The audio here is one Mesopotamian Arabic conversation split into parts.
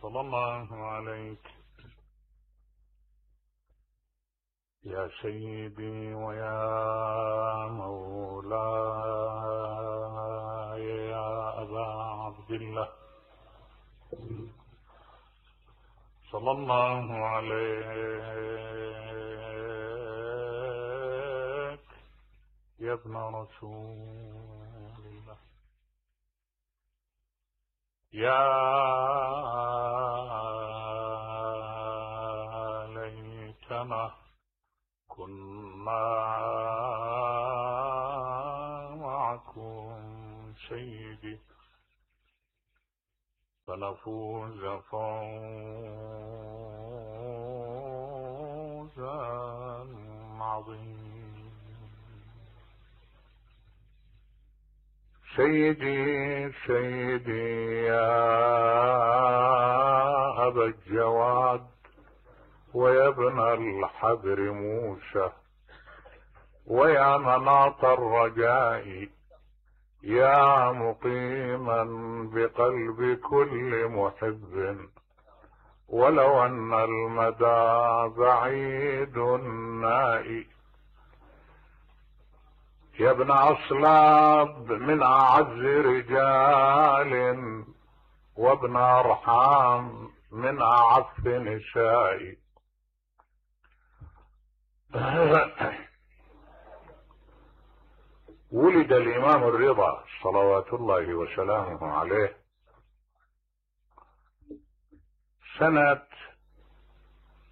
صلى الله عليك يا سيدي ويا مولاي يا أبا عبد الله، صلى الله عليك يا ابن رسول الله، يا ليتنا كنا معكم سيدي فنفوز فوزا عظيما. سيدي سيدي يا أبا الجواد ويا ابن الحبر موسى ويا مناط الرجاء، يا مقيما بقلب كل محب ولو أن المدى بعيد نائي، يا ابن أصلاب من أعز رجال وابن أرحام من أعف نسائي. ولد الإمام الرضا صلوات الله وسلامه عليه سنة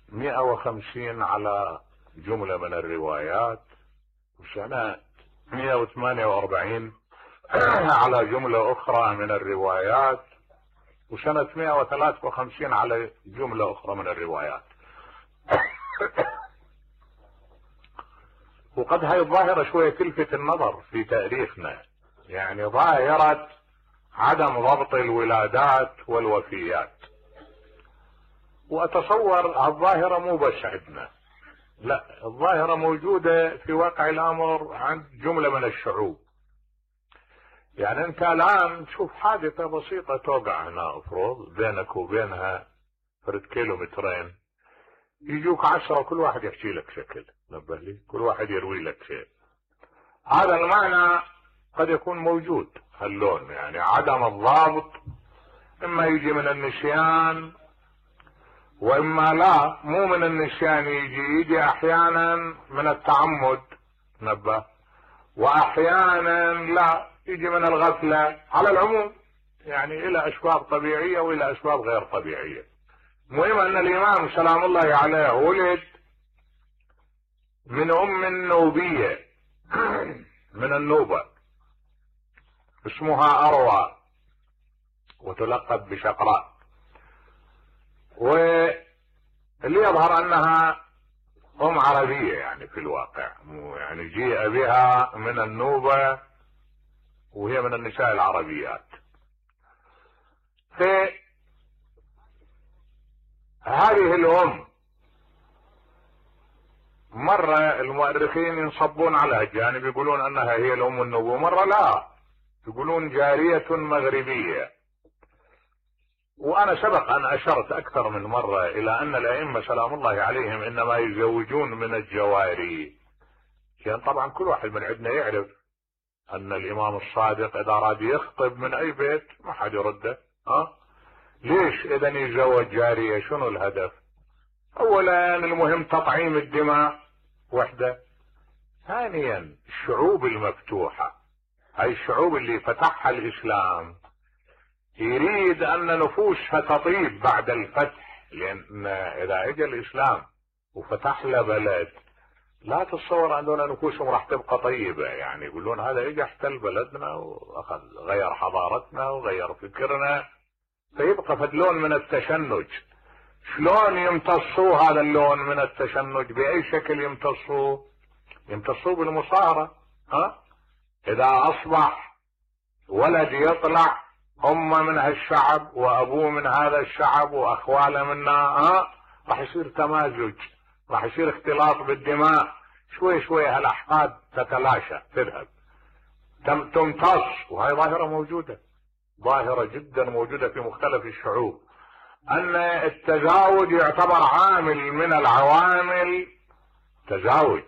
150 على جملة من الروايات، وسنة 148 على جملة أخرى من الروايات، وسنة 153 على جملة أخرى من الروايات. وقد هاي الظاهرة شوية تلفت النظر في تاريخنا، يعني ظاهرة عدم ضبط الولادات والوفيات، وأتصور الظاهرة مو بس عندنا، لا، الظاهرة موجودة في واقع الأمر عند جملة من الشعوب. يعني أنت الآن تشوف حادثة بسيطة توقع هنا أفرض بينك وبينها فرد كيلومترين، يجوك 10 كل واحد يحكي لك شكل، نبه لي، كل واحد يروي لك شيء. هذا المعنى قد يكون موجود، هاللون يعني عدم الضابط، إما يجي من النسيان وإما لا، مو من النسيان، يجي أحيانا من التعمد، نبه، وأحيانا لا، يجي من الغفلة. على العموم يعني إلى أسباب طبيعية وإلى أسباب غير طبيعية. المهم أن الإمام سلام الله عليه ولد من أم نوبية من النوبة اسمها أروى وتلقب بشقراء، واللي يظهر أنها أم عربية يعني في الواقع، يعني جيء بها من النوبة وهي من النساء العربيات. هذه الأم مرة المؤرخين ينصبون على الجانب، يقولون أنها هي الأم النبوة، مرة لا، يقولون جارية مغربية. وأنا سبق أن أشرت أكثر من مرة إلى أن الأئمة سلام الله عليهم إنما يزوجون من الجواري، يعني طبعا كل واحد من عندنا يعرف أن الإمام الصادق إذا أراد يخطب من أي بيت ما حد يرده. ليش إذا يتزوج جارية؟ شنو الهدف؟ أولا المهم تطعيم الدماء وحدة، ثانيا الشعوب المفتوحة، هاي الشعوب اللي فتحها الإسلام يريد أن نفوسها تطيب بعد الفتح، لأن إذا اجى الإسلام وفتح له بلد لا تتصور أن نفوسهم راح تبقى طيبة، يعني يقولون هذا اجى احتل بلدنا وأخذ غير حضارتنا وغير فكرنا، فيبقى فدلون من التشنج. شلون يمتصوا هذا اللون من التشنج؟ بأي شكل يمتصوا؟ يمتصوا بالمصارة. إذا أصبح ولد يطلع أمه من هالشعب وأبوه من هذا الشعب وأخواله منا، راح يصير تمازج، راح يصير اختلاط بالدماء، شوي شوي هالأحقاد تتلاشى تذهب تمتص. وهي ظاهرة موجودة، ظاهرة جدا موجودة في مختلف الشعوب. ان التزاوج يعتبر عامل من العوامل، تزاوج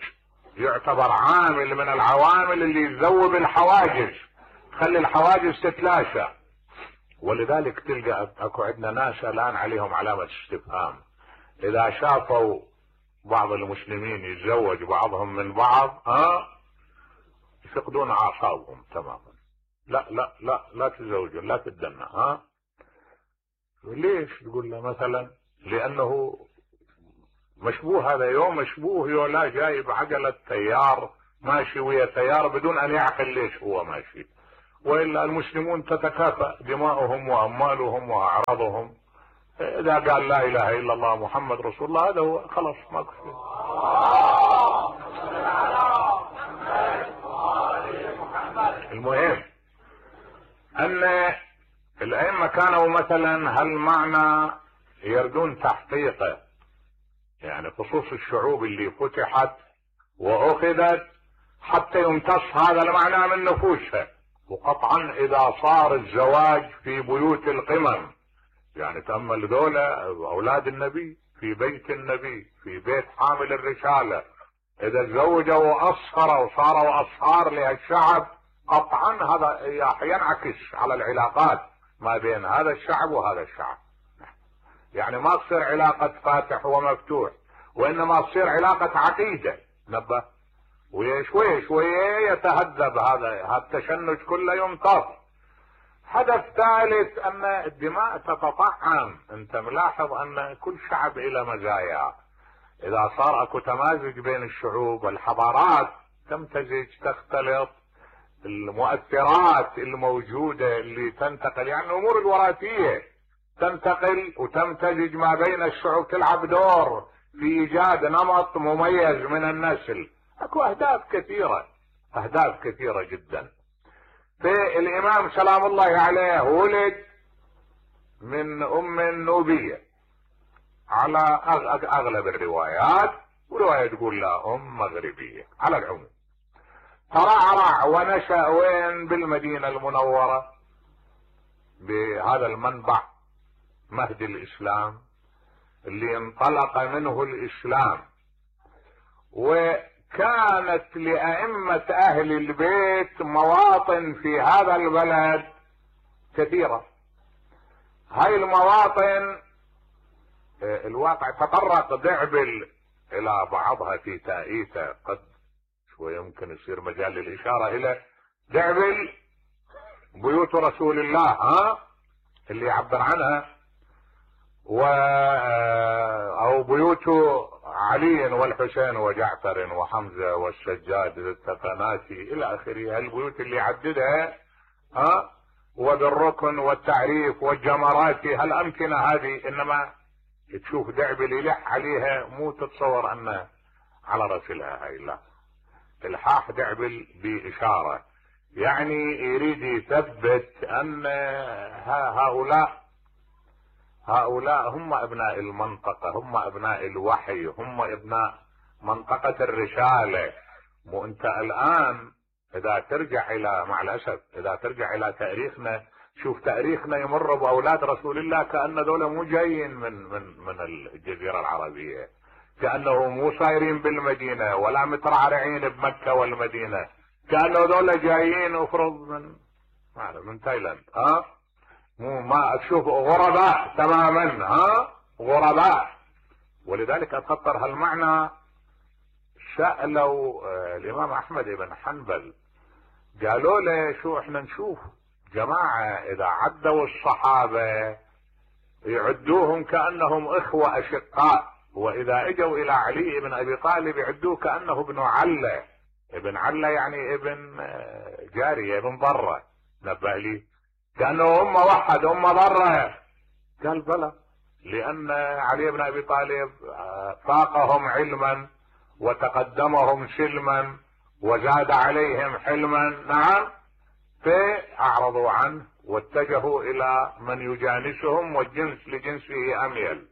يعتبر عامل من العوامل اللي تذوب الحواجز، تخلي الحواجز تتلاشى. ولذلك تلقى اكو عندنا ناس الان عليهم علامة استفهام اذا شافوا بعض المسلمين يتزوج بعضهم من بعض، يفقدون اعصابهم تماما. لا لا لا لا تتزوجوا، لا تتدنى. ليش؟ يقول له مثلا لانه مشبوه، هذا يوم مشبوه يولا جايب عجلة تيار ماشي ويا تيار بدون ان يعقل ليش هو ماشي. والا المسلمون تتكافأ دماؤهم واموالهم واعراضهم. اذا قال لا اله الا الله محمد رسول الله هذا هو، خلاص ماكو شيء. المهم ان الائمه كانوا مثلا هالمعنى يردون تحقيقه، يعني خصوص الشعوب اللي فتحت واخذت حتى يمتص هذا المعنى من نفوسها. وقطعا اذا صار الزواج في بيوت القمم، يعني تأمل ذولا اولاد النبي في بيت النبي في بيت حامل الرسالة، اذا تزوجوا واصهروا وصاروا اصهار لهالشعب، قطعا هذا ينعكس على العلاقات ما بين هذا الشعب وهذا الشعب. يعني ما تصير علاقة فاتح ومفتوح، وانما تصير علاقة عقيدة. نبه وشوي شوي يتهذب هذا التشنج كله يمتص. هدف ثالث ان الدماء تتطعم. انت ملاحظ ان كل شعب الى مزايا، اذا صار اكو تمازج بين الشعوب والحضارات تمتزج تختلط، المؤثرات الموجودة اللي تنتقل، يعني الامور الوراثية تنتقل وتمتزج ما بين الشعوب، تلعب دور في ايجاد نمط مميز من النسل. اكو اهداف كثيرة، اهداف كثيرة جدا. فالامام سلام الله عليه ولد من ام نوبية على اغلب الروايات، ورواية تقول لا ام مغربية على العموم. ترعرع ونشأ وين؟ بالمدينة المنورة، بهذا المنبع مهد الاسلام اللي انطلق منه الاسلام. وكانت لأئمة اهل البيت مواطن في هذا البلد كثيرة. هاي المواطن الواقع تطرق دعبل الى بعضها في تأييته، قد شوية يمكن يصير مجال للاشارة الى دعبل بيوت رسول الله اللي يعبر عنها، او بيوت علي والحسين وجعفر وحمزة والسجاد التقناتي الى اخره. البيوت اللي عددها وبالركن والتعريف والجمرات، هالامكنة هذه، انما تشوف دعبل يلح عليها مو تتصور انه على رسلها هاي، لا، الحاح دعبل باشارة، يعني يريد يثبت ان هؤلاء هم ابناء المنطقة، هم ابناء الوحي، هم ابناء منطقة الرسالة. مو انت الان اذا ترجع الى، مع الاسف اذا ترجع الى تاريخنا، شوف تاريخنا يمر باولاد رسول الله كأن دول مو جايين من الجزيرة العربية، كأنه مو صايرين بالمدينة ولا مترعرعين بمكة والمدينة، كأنه دول جايين افرض من تايلاند. مو ما تشوف غرباء تماما، غرباء. ولذلك اتخطر هالمعنى سألوا الامام احمد بن حنبل، قالوا له شو احنا نشوف جماعة اذا عدوا الصحابة يعدوهم كأنهم اخوة اشقاء، واذا اجوا الى علي بن ابي طالب يعدوه كأنه ابن علة. ابن علة يعني ابن جارية، ابن ضرة. نبه لي كأنه هم وحد هم ضرة. قال بلى، لان علي بن ابي طالب فاقهم علما وتقدمهم سلما وزاد عليهم حلما. نعم، فاعرضوا عنه واتجهوا الى من يجانسهم، والجنس لجنسه اميل.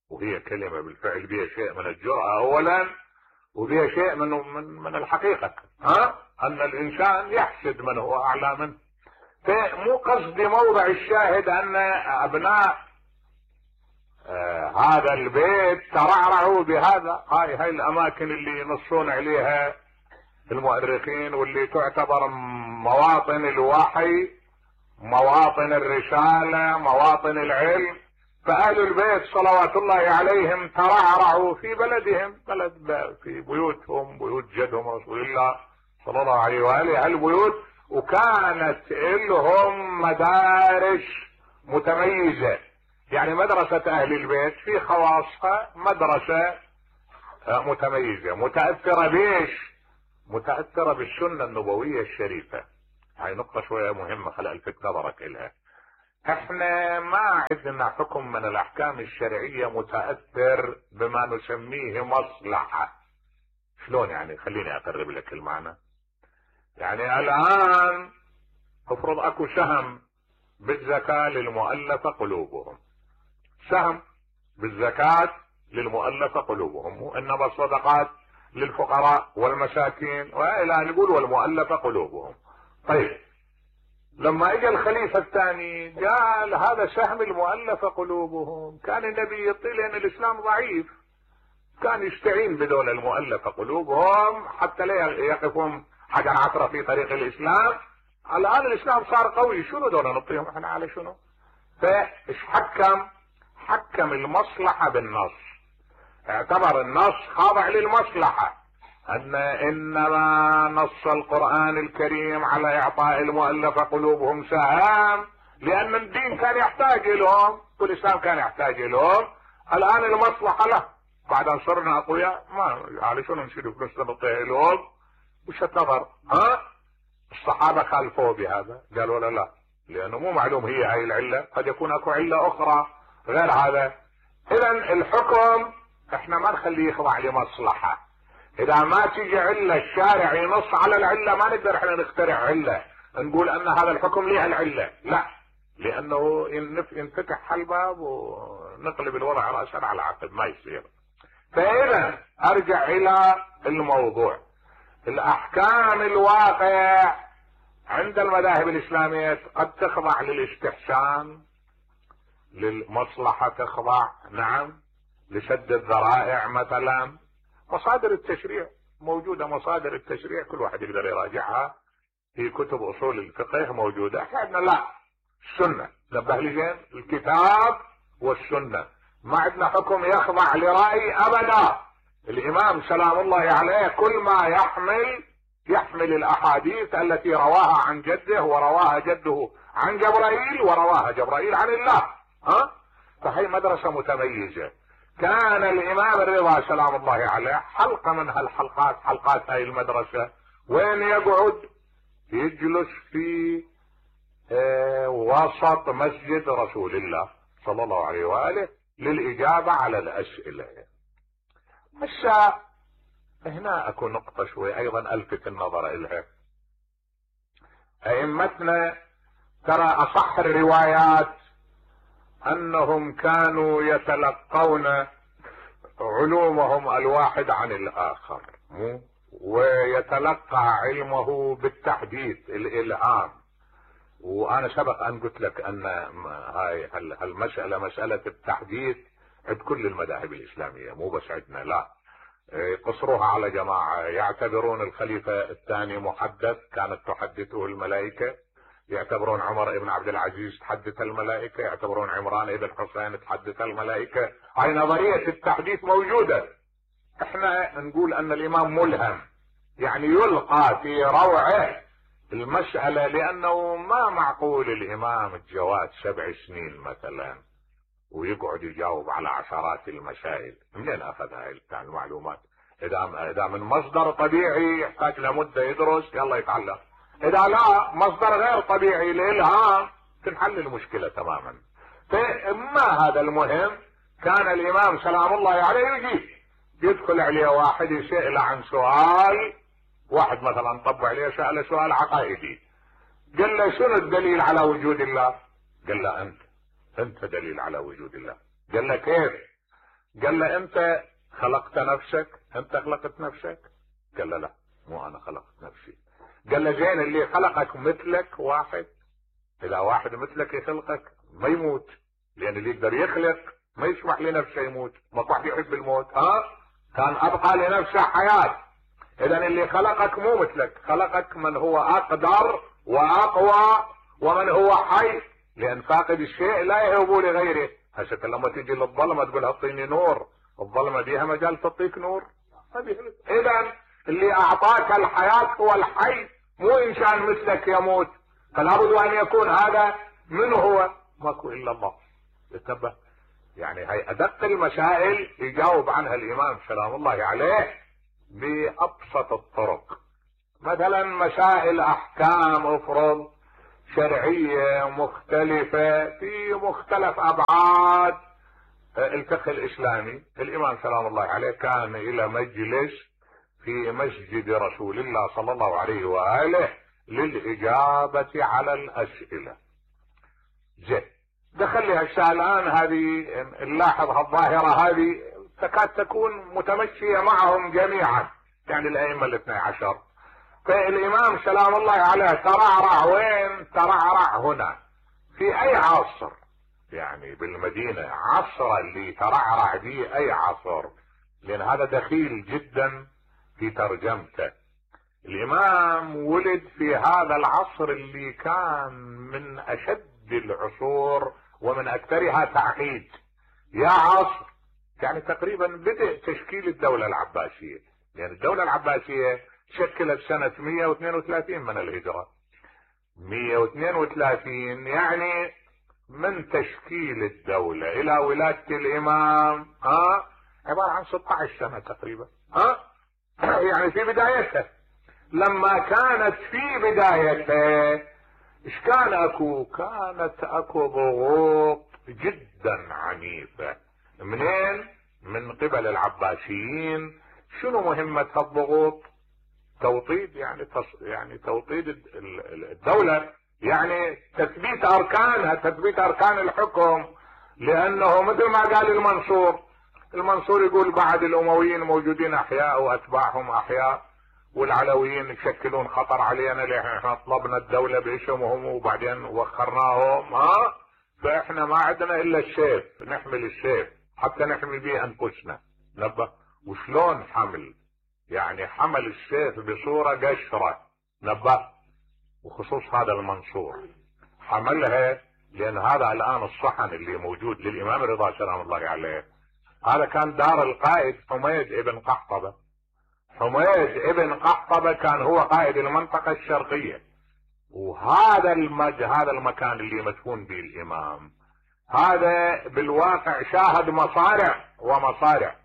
وهي كلمة بالفعل بها شيء من الجرأة اولا، وبها شيء من الحقيقة، ان الانسان يحسد من هو اعلى منه. فمو قصدي موضع الشاهد ان ابناء هذا البيت ترعرعوا بهذا. هاي الاماكن اللي ينصون عليها المؤرخين واللي تعتبر مواطن الوحي، مواطن الرسالة، مواطن العلم. فأهل البيت صلوات الله عليهم ترعرعوا في بلدهم، في بيوتهم، بيوت جدهم رسول الله صلى الله عليه وآله البيوت. وكانت لهم مدارس متميزة، يعني مدرسة أهل البيت في خواصها مدرسة متميزة متأثرة بيش؟ متأثرة بالسنة النبوية الشريفة. هاي نقطة شوية مهمة خلق الفت نظرك إلها. احنا ما عندنا حكم من الأحكام الشرعية متأثر بما نسميه مصلحة. شلون يعني؟ خليني أقرب لك المعنى. يعني الآن افرض اكو سهم بالزكاة للمؤلفة قلوبهم، سهم بالزكاة للمؤلفة قلوبهم، وانما الصدقات للفقراء والمساكين والى نقول والمؤلفة قلوبهم. طيب لما اجى الخليفة الثاني قال هذا سهم المؤلفة قلوبهم، كان النبي يطيل ان الاسلام ضعيف، كان يستعين بدول المؤلفة قلوبهم حتى لا يقفون حجر عثرة في طريق الاسلام. الان الاسلام صار قوي، شنو دول نعطيهم احنا على شنو؟ فايش حكم المصلحة بالنص، اعتبر النص خاضع للمصلحة، انما نص القرآن الكريم على اعطاء المؤلفة قلوبهم سهام لان الدين كان يحتاج لهم والاسلام كان يحتاج لهم. الان المصلحة له، بعد ان صرنا اقوياء ما على شنو نشيل فلوسنا نعطيها لهم؟ وش النظر؟ الصحابة خالفوه بهذا، قالوا لا لانه مو معلوم هي هاي العلة، قد يكون اكو علة اخرى غير هذا. اذا الحكم احنا ما نخليه يخضع لمصلحة. اذا ما تيجي علة الشارع ينص على العلة ما نقدر احنا نخترع علة نقول ان هذا الحكم ليه العلة، لا، لانه ينفتح الباب ونقلب الوضع رأسا على عقب، ما يصير. فاذا ارجع الى الموضوع، الاحكام الواقع عند المذاهب الاسلامية قد تخضع للاستحسان، للمصلحة تخضع، نعم، لسد الذرائع مثلا. مصادر التشريع موجودة، مصادر التشريع كل واحد يقدر يراجعها في كتب اصول الفقه موجودة. احنا عندنا لا، السنة، نبه لي زين، الكتاب والسنة، ما عندنا حكم يخضع لرأي ابدا. الامام سلام الله عليه كل ما يحمل الاحاديث التي رواها عن جده ورواها جده عن جبرائيل ورواها جبرائيل عن الله. فهي مدرسة متميزة. كان الامام الرضا سلام الله عليه حلقة من هالحلقات، حلقات هاي المدرسة، وين يقعد؟ يجلس في وسط مسجد رسول الله صلى الله عليه وآله للإجابة على الأسئلة. هسه هنا اكو نقطة شوي ايضا الفت النظر الها. ائمتنا ترى اصح الروايات انهم كانوا يتلقون علومهم الواحد عن الاخر، ويتلقى علمه بالتحديث، الالهام. وانا سبق ان قلت لك ان هاي المسألة مسألة التحديث عند كل المذاهب الاسلامية، مو بس عندنا، لا، قصروها على جماعة. يعتبرون الخليفة الثاني محدث، كانت تحدثه الملائكة، يعتبرون عمر ابن عبد العزيز تحدث الملائكة، يعتبرون عمران ابن حسين تحدث الملائكة. هاي نظرية التحديث موجودة. احنا نقول ان الامام ملهم، يعني يلقى في روعه المسألة، لانه ما معقول الامام الجواد 7 سنين مثلا ويقعد يجاوب على عشرات المسائل. منين اخذ هاي المعلومات؟ اذا من مصدر طبيعي يحتاج لمدة يدرس يلا يتعلم، اذا لا مصدر غير طبيعي للهام تنحل المشكلة تماما. فما هذا المهم، كان الامام سلام الله عليه يدخل عليه واحد يسأل عن سؤال، واحد مثلا طب عليه سأل سؤال عقائدي، قال له شنو الدليل على وجود الله؟ قال له انت دليل على وجود الله. قال له كيف؟ قال له انت خلقت نفسك؟ انت خلقت نفسك؟ قال له لا، مو انا خلقت نفسي. قال له زين اللي خلقك مثلك واحد؟ اذا واحد مثلك يخلقك ما يموت، لان اللي يقدر يخلق ما يسمح لنفسه يموت. ما واحد يحب الموت؟ كان ابقى لنفسه حياة. اذا اللي خلقك مو مثلك، خلقك من هو اقدر واقوى ومن هو حي، لان فاقد الشيء لا يهب لغيره. هسه لما تجي للظلمه تقول اعطيني نور، الظلمه بيها مجال تعطيك نور؟ اذا اللي اعطاك الحياه هو الحي، مو انسان مثلك يموت. فلا بد ان يكون هذا من هو؟ ماكو الا الله. انتبه، يعني هي ادق المسائل يجاوب عنها الامام سلام الله عليه بابسط الطرق. مثلا مسائل احكام افرض شرعيه مختلفه في مختلف ابعاد الفقه الاسلامي. الامام سلام الله عليه كان الى مجلس في مسجد رسول الله صلى الله عليه واله للاجابه على الاسئله. زين، دخل لي هسه الان هذه نلاحظ الظاهره هذه تكاد تكون متمشيه معهم جميعا، يعني الائمه الاثني عشر. فالامام سلام الله عليه ترعرع وين؟ ترعرع هنا. في اي عصر؟ يعني بالمدينه. عصر اللي ترعرع به اي عصر؟ لان هذا دخيل جدا في ترجمته. الامام ولد في هذا العصر اللي كان من اشد العصور ومن اكثرها تعقيد. يا عصر يعني تقريبا بدء تشكيل الدولة العباسية، يعني الدولة العباسية شكلت سنة 132 من الهجرة. 132 يعني من تشكيل الدولة الى ولادة الامام عبارة عن 16 سنة تقريبا. يعني في بدايتها. لما كانت في بدايتها ايش كان اكو؟ كانت اكو ضغوط جدا عنيفة. منين؟ من قبل العباسيين. شنو مهمة الضغوط؟ توطيد، يعني توطيد الدولة، يعني تثبيت اركانها، تثبيت اركان الحكم. لانه مثل ما قال المنصور يقول بعد الامويين موجودين احياء واتباعهم احياء، والعلويين يشكلون خطر علينا لان احنا طلبنا الدولة باسمهم وبعدين وخرناهم. فاحنا ما عندنا الا السيف، نحمل السيف حتى نحمي به انفسنا. نبه، وشلون حمل؟ يعني حمل السيف بصورة قشرة. نبه، وخصوص هذا المنصور حملها، لان هذا الان الصحن اللي موجود للامام رضا سلام الله عليه هذا كان دار القائد حميد ابن قحطبة. حميد ابن قحطبة كان هو قائد المنطقة الشرقية، وهذا هذا المكان اللي مدفون به الامام هذا بالواقع شاهد مصارع ومصارع.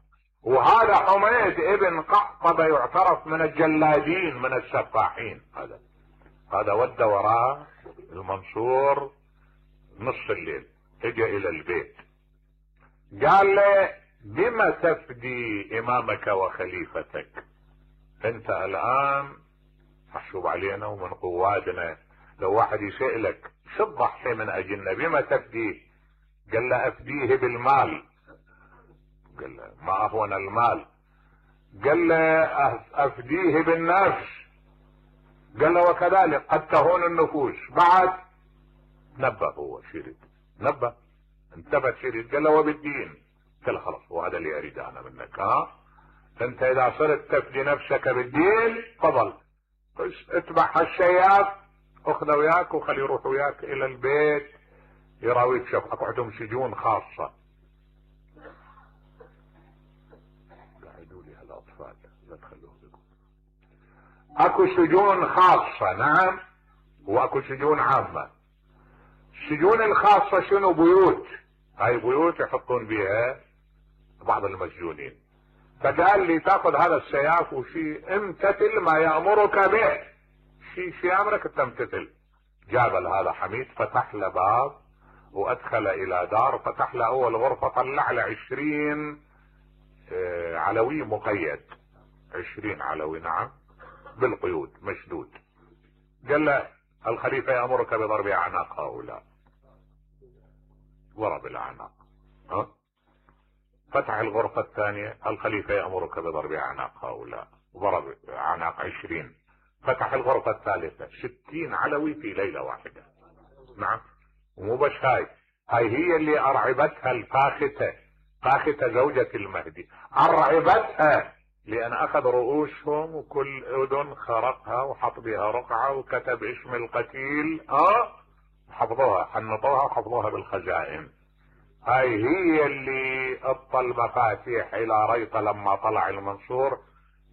وهذا حميد ابن قحطبة يعترف من الجلادين من السفاحين. هذا ودى وراء المنصور نصف الليل، اجى الى البيت قال له بما تفدي امامك وخليفتك؟ انت الان محسوب علينا ومن قوادنا، لو واحد يسألك شو تضحي من اجلنا بما تفديه؟ قال له افديه بالمال. قال له ما اهون المال. قال له افديه بالنفس. قال له وكذلك قد تهون النفوس. بعد نبه، هو شريد نبه، انتبه شريد. قال له وبالدين. قال له خلاص، وهذا اللي اريد انا منك. انت اذا صرت تفدي نفسك بالدين تفضل، بس اتبع هالشياب، اخذه وياك وخليه يروح وياك الى البيت يراويك. شوف اكو عندهم سجون خاصة. قاعدوا لي هالاطفال لا تخلوهم يقول. اكو سجون خاصة، نعم، واكو سجون عامة. السجون الخاصة شنو؟ بيوت. هاي بيوت يحطون بيها بعض المسجونين. فقال لي تاخذ هذا السياف وشي امتثل ما يأمرك به، شي امرك تمتثل. جاب هذا حميد، فتح له باب وادخل الى دار، فتح له اول غرفة، طلع له 20 علوي مقيد، 20 علوي، نعم، بالقيود مشدود. قال له الخليفة يأمرك بضرب اعناق هؤلاء. ضرب الاعناق. فتح الغرفة الثانية، الخليفة يأمرك بضرب اعناق هؤلاء. ضرب اعناق 20. فتح الغرفة الثالثة، 60 علوي في ليلة واحدة. نعم، ومو بس هاي هي اللي ارعبتها الفاختة. فاخذة زوجة المهدي ارعبتها لان اخذ رؤوسهم وكل اذن خرقها وحط بها رقعة وكتب اسم القتيل حفظوها، حنطوها وحفظوها بالخزائن. هاي هي اللي اعطى المفاتيح الى ريطة لما طلع المنصور،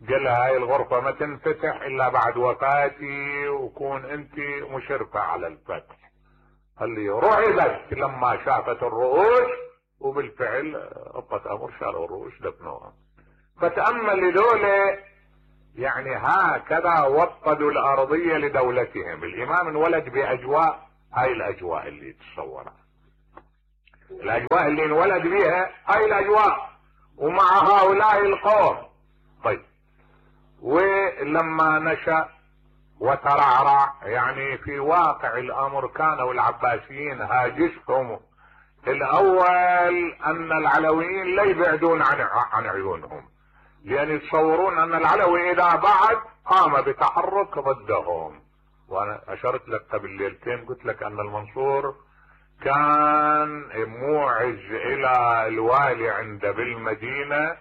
قال هاي الغرفة ما تنفتح الا بعد وفاتي وكون انت مشرفة على الفتح. اللي رعبت لما شافت الرؤوس، وبالفعل اعطت امر شالوا الرؤوس دفنوها. فتأمل لذولا يعني هكذا وطدوا الارضية لدولتهم. الامام انولد باجواء، هاي الاجواء اللي تتصورها، الاجواء اللي انولد بها هاي الاجواء ومع هؤلاء القوم. طيب ولما نشأ وترعرع يعني في واقع الامر كانوا العباسيين هاجسهم الاول ان العلويين لا يبعدون عن عيونهم، لان يتصورون ان العلوي اذا بعد قام بتحرك ضدهم. وانا اشرت لك قبل ليلتين قلت لك ان المنصور كان موعز الى الوالي عنده بالمدينة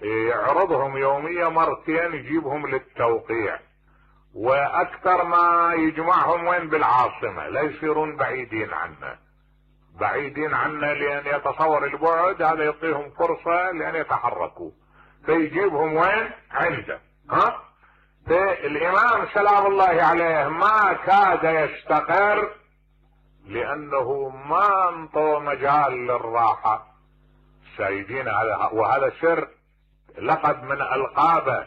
يعرضهم يوميا مرتين يجيبهم للتوقيع، واكثر ما يجمعهم وين؟ بالعاصمة، لا يصيرون بعيدين عنه، بعيدين عنه لان يتصور البعد هذا يعطيهم فرصة لان يتحركوا، فيجيبهم وين؟ عنده. فالامام سلام الله عليه ما كاد يستقر لانه ما انطوا مجال للراحة. سيدين وهذا سر لقب من القابه،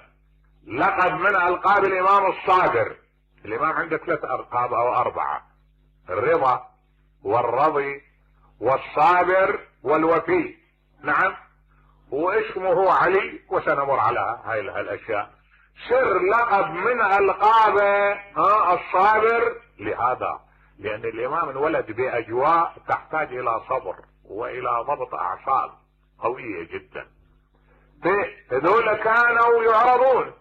لقب من القاب الامام الصابر. الامام عنده 3 القاب او 4: الرضا والرضي والصابر والوفي. نعم، واسمه علي، وسنمر على هاي الاشياء. سر لقب من القابه الصابر لهذا لان الامام انولد باجواء تحتاج الى صبر والى ضبط اعصاب قوية جدا. هذول كانوا يعرضون،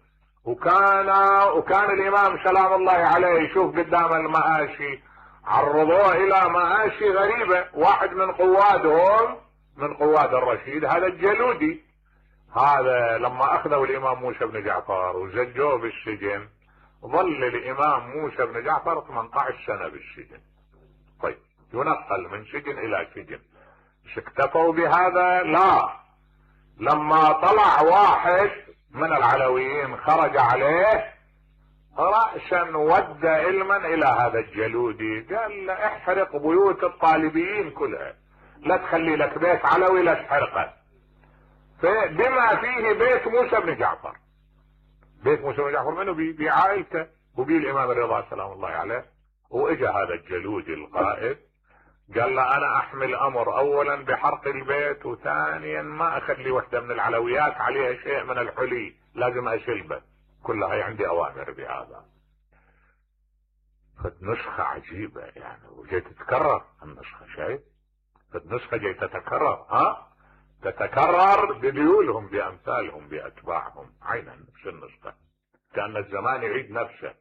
وكان الامام سلام الله عليه يشوف قدام المآشي عرضوه الى مآشي غريبة. واحد من قوادهم، من قواد الرشيد، هذا الجلودي، هذا لما اخذوا الامام موسى بن جعفر وزجوه بالسجن ظل الامام موسى بن جعفر 18 سنة بالسجن. طيب ينقل من سجن الى سجن. اكتفوا بهذا؟ لا، لما طلع واحد من العلويين خرج عليه رأسا ود علما الى هذا الجلودي، قال له احرق بيوت الطالبيين كلها، لا تخلي لك بيت علوي لا تحرقه. فبما فيه بيت موسى بن جعفر. بيت موسى بن جعفر منه؟ بعائلته وبي الامام الرضا سلام الله عليه. واجا هذا الجلودي القائد قال له انا احمل امر اولا بحرق البيت، وثانيا ما اخلي وحدة من العلويات عليها شيء من الحلي، لازم اشلبه، كلها عندي اوامر بهذا. فالنسخة عجيبة يعني، وجاي تتكرر النسخة، شايف؟ فالنسخة جاي تتكرر، تتكرر بذيولهم بامثالهم باتباعهم، عينا نفس النسخة، كأن الزمان يعيد نفسه.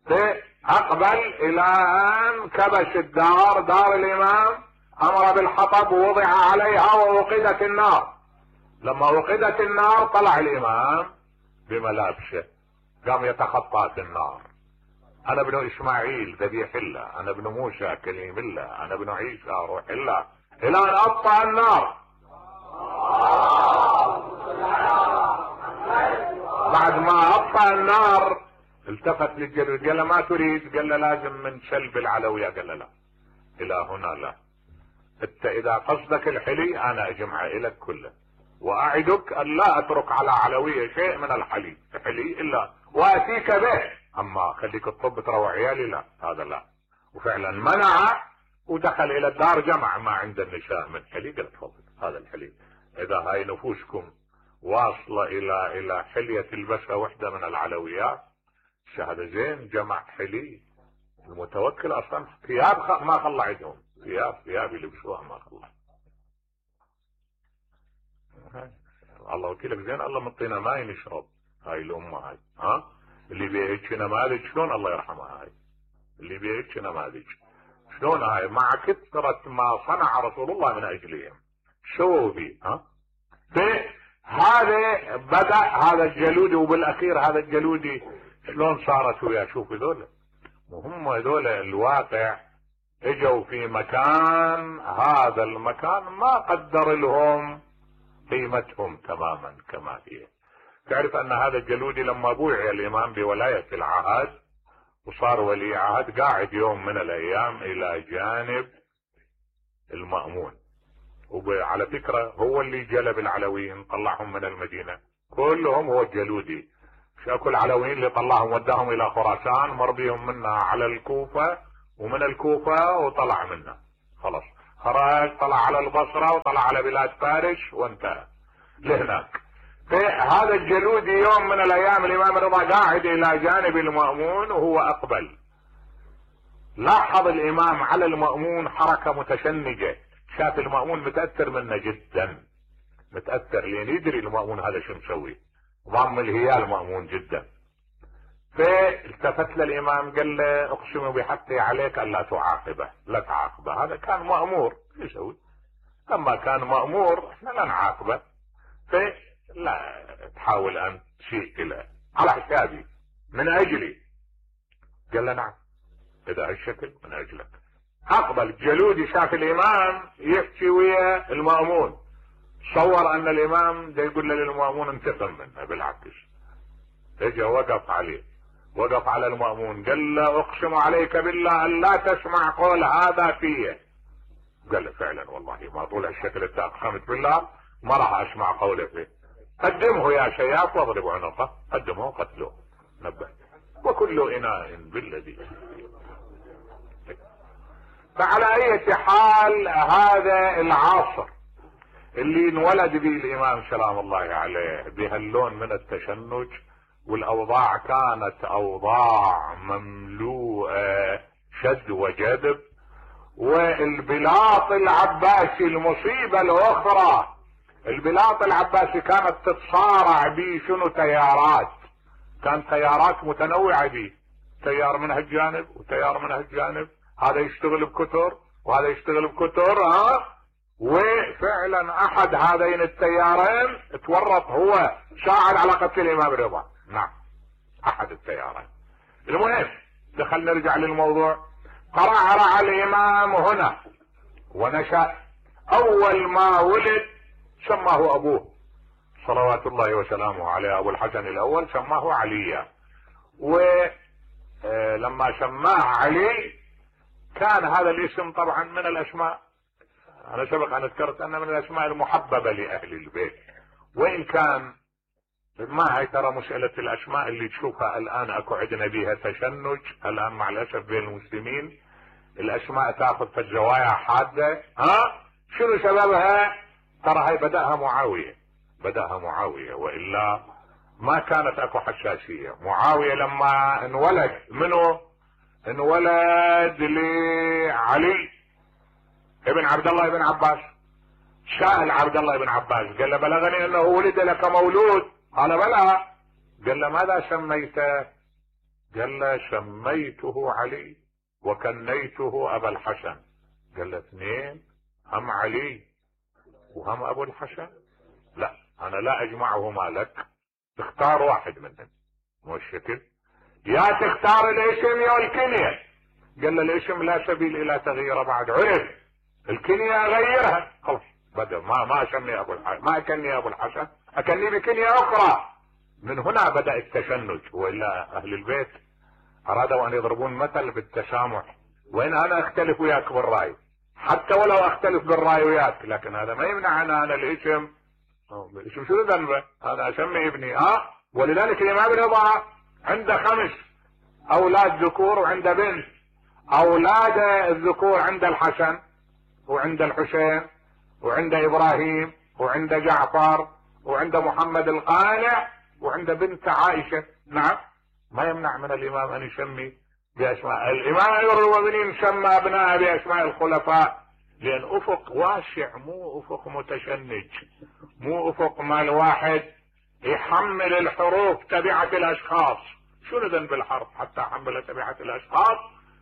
فاقبل الى ان كبش الدار، دار الامام، امر بالحطب ووضع عليها ووقدت النار. لما وقدت النار طلع الامام بملابسه، قام يتخطى في النار. انا ابن اسماعيل ذبيح الله، انا ابن موسى كليم الله، انا ابن عيسى روح الله، الى ان اطفأ النار. بعد ما اطفأ النار التفت للجلود قال له ما تريد؟ قال له لازم من سلب العلوية. قال له لا، الى هنا لا، انت اذا قصدك الحلي انا اجمع لك كله، واعدك ان لا اترك على علوية شيء من الحلي الا واتيك به، اما خليك الطب تروع عيالي لا، هذا لا. وفعلا منع ودخل الى الدار، جمع ما عند النساء من حلي، قال تفضل هذا الحلي، اذا هاي نفوسكم واصلة الى حلية تلبسها وحدة من العلويات شهادة زين، جمع حلي. المتوكل اصلا ثياب ما خلى عندهم، ثياب يلبسوها ما خلى. الله وكيلك زين، الله مطينا ماي نشرب، هاي الامه هاي، اللي بيهيك نماذج شلون الله يرحمها، هاي اللي بيهيك نماذج شلون هاي، مع كثرة ما صنع رسول الله من اجلهم، شو بي فهذا بدأ هذا الجلودي، وبالاخير هذا الجلودي شلون صارت وياه؟ شوف هذول وهم هذول الواقع اجوا في مكان، هذا المكان ما قدر لهم قيمتهم تماما كما هي. تعرف ان هذا الجلودي لما بوعي الامام بولاية العهد وصار ولي عهد، قاعد يوم من الايام الى جانب المأمون، وعلى فكرة هو اللي جلب العلويين طلعهم من المدينة كلهم، هو الجلودي. شاكو العلويين اللي طلعهم وداهم الى خراسان، مر بيهم منها على الكوفة، ومن الكوفة وطلع منها خلاص، خرج طلع على البصرة وطلع على بلاد فارس وانتهى لهناك. فهذا الجلودي يوم من الايام الامام الرضا قاعد الى جانب المأمون وهو اقبل، لاحظ الامام على المأمون حركة متشنجة، شاف المأمون متأثر منه جدا، متأثر لان يدري المأمون هذا شو مسوي، ضم الهيال المأمون جدا. فالتفت للامام قال له اقسم بحقي عليك الا تعاقبه، لا تعاقبه، هذا كان مأمور يسوي، لما كان مأمور احنا لا نعاقبه، فلا تحاول ان تشيء له على حسابي من اجلي. قال له نعم اذا هالشكل من اجلك. اقبل الجلودي، شاف الامام يحكي ويا المأمون، تصور ان الامام دا يقول للمأمون انتقم منه، بالعكس اجا وقف عليه، وقف على المأمون قال له اقسم عليك بالله ان لا تسمع قول هذا فيه. قال له فعلا والله ما طول الشكل انت اقسمت بالله ما راح اسمع قوله فيه، قدمه يا شياف واضربوا عنقه، قدمه وقتلوه، نبه وكل اناء بالذي. فعلى اي حال هذا العصر اللي انولد به الامام سلام الله عليه بهاللون من التشنج، والاوضاع كانت اوضاع مملوءة شد وجذب، والبلاط العباسي المصيبة الاخرى، البلاط العباسي كانت تتصارع به شنو تيارات، كان تيارات متنوعة به، تيار من هالجانب وتيار من هالجانب، هذا يشتغل بكتر وهذا يشتغل بكتر، وفعلا احد هذين التيارين تورط هو ساعد على قتل الامام رضا، نعم احد التيارين. المهم دخل نرجع للموضوع، قرع الامام هنا ونشأ، اول ما ولد سماه ابوه صلوات الله وسلامه عليه، ابو الحسن الاول سماه عليا، ولما سماه علي كان هذا الاسم طبعا من الاسماء، انا سبق ان ذكرت انه من الاسماء المحببة لاهل البيت، وان كان ما هي ترى مسألة الاسماء اللي تشوفها الان اكو عندنا بيها تشنج الان مع الاسف بين المسلمين، الاسماء تاخذ في الزوايا حادة، شنو سببها؟ ترى هاي بدأها معاوية، والا ما كانت اكو حساسية. معاوية لما انولد منه انولد لعلي ابن عبد الله بن عباس، سأل عبد الله بن عباس قال له بلغني انه ولد لك مولود، قال بلى، قال له ماذا سميته؟ قال له سميته علي وكنيته ابا الحسن. قال له اثنين، هم علي وهم ابو الحسن؟ لا انا لا اجمعهما لك، تختار واحد منهم، مو الشكل، يا تختار الاسم يا الكنية. قال له الاسم لا سبيل الى تغييره بعد، عرف الكنية اغيرها خلاص، بدأ ما اسمي ابو الحسن، ما اكني ابو الحسن، اكني بكنية اخرى. من هنا بدأ التشنج، والا اهل البيت ارادوا ان يضربون مثل بالتسامح، وان انا اختلف وياك بالرأي، حتى ولو اختلف بالرأي وياك، لكن هذا ما يمنع ان انا الاسم شو ذنبه، انا اسمي ابني. ولذلك الامام رضا عنده 5 اولاد ذكور وعنده بنت، اولاد الذكور عند الحسن وعند الحسين وعند ابراهيم وعند جعفر وعند محمد القانع وعند بنت عائشة. نعم ما يمنع من الامام ان يسمي باسماء الامام امير المؤمنين، سمى ابناء باسماء الخلفاء، لان افق واسع، مو افق متشنج، مو افق ما الواحد يحمل الحروف تبعة الاشخاص. شنو ذنب الحرف حتى حمل تبعة الاشخاص؟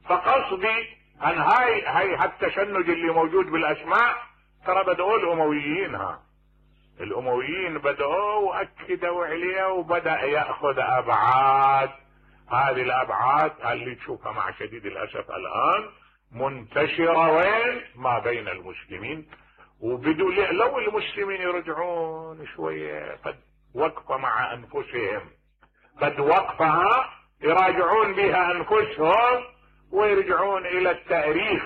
فقصدي ان هاي التشنج اللي موجود بالاسماء ترى بدأوا الامويين، الامويين بدأوا واكدوا عليه وبدأ يأخذ ابعاد. هذه الابعاد اللي تشوفها مع شديد الاسف الان منتشرة وين؟ ما بين المسلمين. وبدوا لو المسلمين يرجعون شوية قد وقفة مع انفسهم، قد وقفها يراجعون بها انفسهم ويرجعون الى التاريخ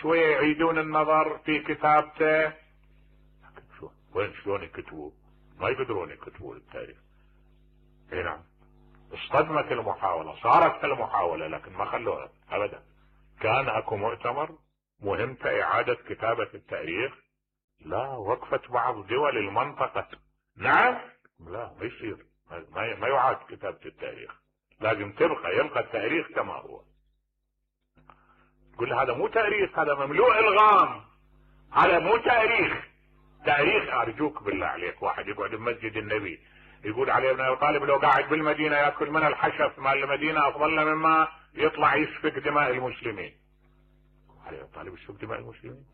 شوية، يعيدون النظر في كتابته. وين شلون يكتبوا؟ ما يقدرون يكتبوا التاريخ. اي نعم، اصطدمت المحاولة، صارت المحاولة لكن ما خلوها ابدا. كان اكو مؤتمر مهمته اعادة كتابة التاريخ، لا وقفت بعض دول المنطقة. نعم، لا ما يصير، ما يعاد كتابة التاريخ، لازم يبقى التاريخ كما هو. كل هذا مو تاريخ، هذا مملوء الغام، هذا مو تاريخ. تاريخ ارجوك بالله عليك، واحد يقعد بمسجد النبي يقول علي بن ابي طالب لو قاعد بالمدينة ياكل من الحشف مال المدينة افضل مما يطلع يسفك دماء المسلمين. علي بن ابي طالب يسفك دماء المسلمين؟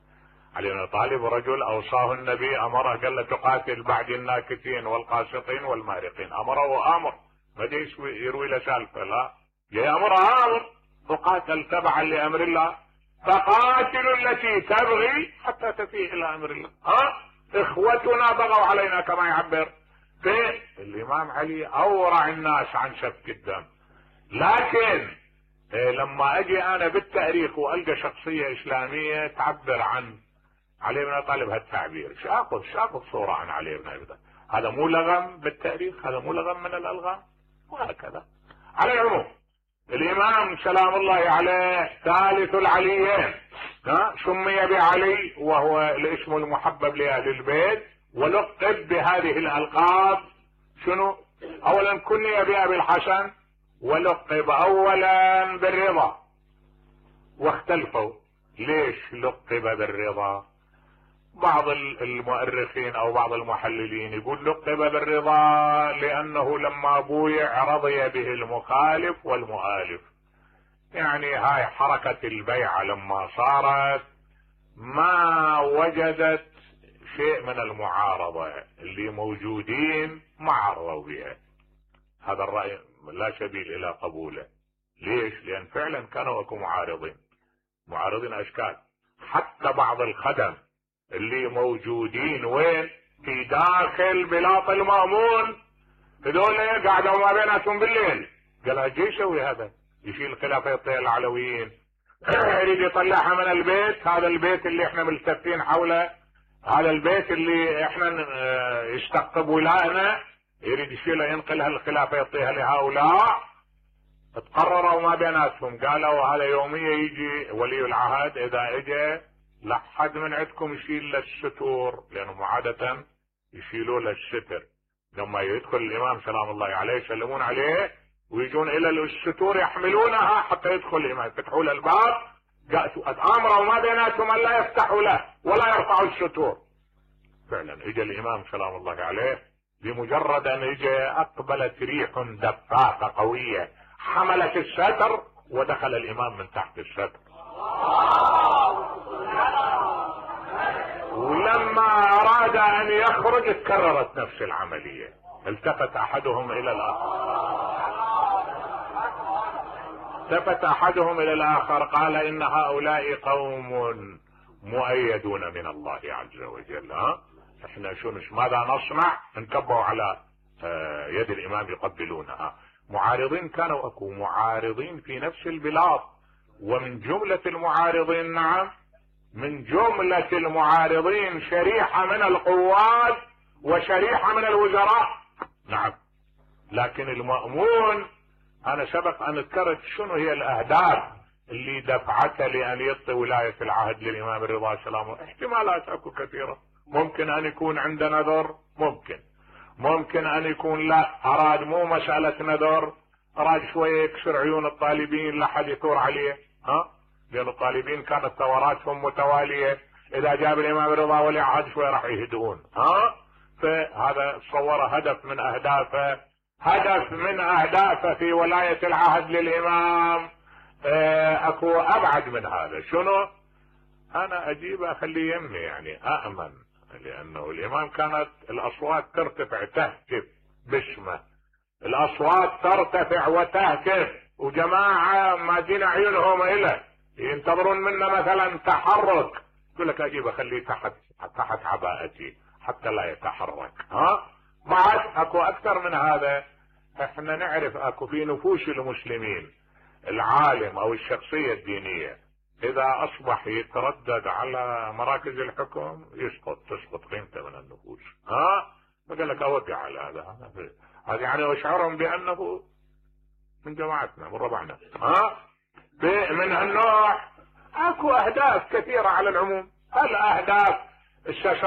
علي بن ابي طالب رجل اوصاه النبي، امره قال له تقاتل بعد الناكثين والقاسطين والمارقين. امره وامر، ما جاي يروي له سالفه، لا جاي امره امر، تقاتل تبعا لامر الله، فقاتلوا التي تبغي حتى تفيء الى امر الله. اخوتنا بغوا علينا كما يعبر في الامام علي، اورع الناس عن سفك الدم. لكن لما اجي انا بالتاريخ والقى شخصيه اسلاميه تعبر عن علي بن ابي طالب هالتعبير، شاخذ صوره عن علي بن ابي طالب، هذا مو لغم بالتاريخ، هذا مو لغم من الالغام، وهكذا. على العموم الامام سلام الله عليه ثالث العليين، سمي بعلي وهو الاسم المحبب لاهل البيت، ولقب بهذه الالقاب. شنو؟ اولا كني بابي الحسن، ولقب اولا بالرضا. واختلفوا ليش لقب بالرضا. بعض المؤرخين او بعض المحللين يقول لقب بالرضا لانه لما بويع رضي به المخالف والمؤالف. يعني هاي حركة البيعة لما صارت ما وجدت شيء من المعارضة، اللي موجودين ما عرضوا بها. هذا الرأي لا سبيل الى قبوله. ليش؟ لان فعلا كانوا اكو معارضين اشكال. حتى بعض الخدم اللي موجودين وين؟ في داخل بلاط المأمون، هذول قاعدوا ما بيناتهم بالليل. قال اجي يسوي هذا، يشيل خلافة العلويين يريد يطلعها من البيت، هذا البيت اللي احنا ملتفين حوله، هذا البيت اللي احنا يستقطب ولائنا، يريد يشيلها ينقلها الخلافة يعطيها لهؤلاء. تقرروا ما بيناتهم، قالوا هذا يومية يجي ولي العهد، اذا اجى لا حد من عندكم يشيل للستور، لانهم عادة يشيلوا للستر. لما يدخل الامام سلام الله عليه يسلمون عليه ويجون الى الستور يحملونها حتى يدخل الامام، يفتحوا له الباب، امروا ما بيناتهم ان لا يفتحوا له ولا يرفعوا الستور. فعلا اجى الامام سلام الله عليه، بمجرد ان اجى اقبلت ريح دفاقة قوية حملت الستر ودخل الامام من تحت الستر. ولما اراد ان يخرج تكررت نفس العملية، التفت احدهم الى الاخر قال ان هؤلاء قوم مؤيدون من الله عز وجل. احنا ماذا نصنع؟ انكبوا على يد الامام يقبلونها. معارضين كانوا اكو معارضين في نفس البلاد، ومن جملة المعارضين، نعم من جملة المعارضين شريحة من القوات وشريحة من الوزراء، نعم. لكن المأمون انا سبق ان ذكرت شنو هي الاهداف اللي دفعته لان يعطي ولاية العهد للامام الرضا سلام. احتمالات اكو كثيرة، ممكن ان يكون عنده نذر، ممكن ان يكون لا اراد مو مسألة نذر، اراد شوية يكسر عيون الطالبين لحد يثور عليه. لان الطالبين كانت ثوراتهم متوالية، اذا جاب الامام الرضا ولي عهد شوية راح يهدؤون. فهذا صور هدف من اهدافه في ولاية العهد للامام. اكو ابعد من هذا. شنو؟ انا اجيب اخليه يمي، يعني اامن لانه الامام كانت الاصوات ترتفع تهتف باسمه، الاصوات ترتفع وتهتف، وجماعة مادين عيونهم اليه ينتظرون منا مثلا تحرك، يقول لك اجيب اخليه تحت عباءتي حتى لا يتحرك. بعد اكو اكثر من هذا. احنا نعرف اكو في نفوس المسلمين العالم او الشخصية الدينية اذا اصبح يتردد على مراكز الحكم تسقط قيمته من النفوس. فقال لك اودي على هذا يعني واشعرهم بانه من جماعتنا من ربعنا. من هالنوع اكو اهداف كثيرة على العموم. الاهداف الشاشة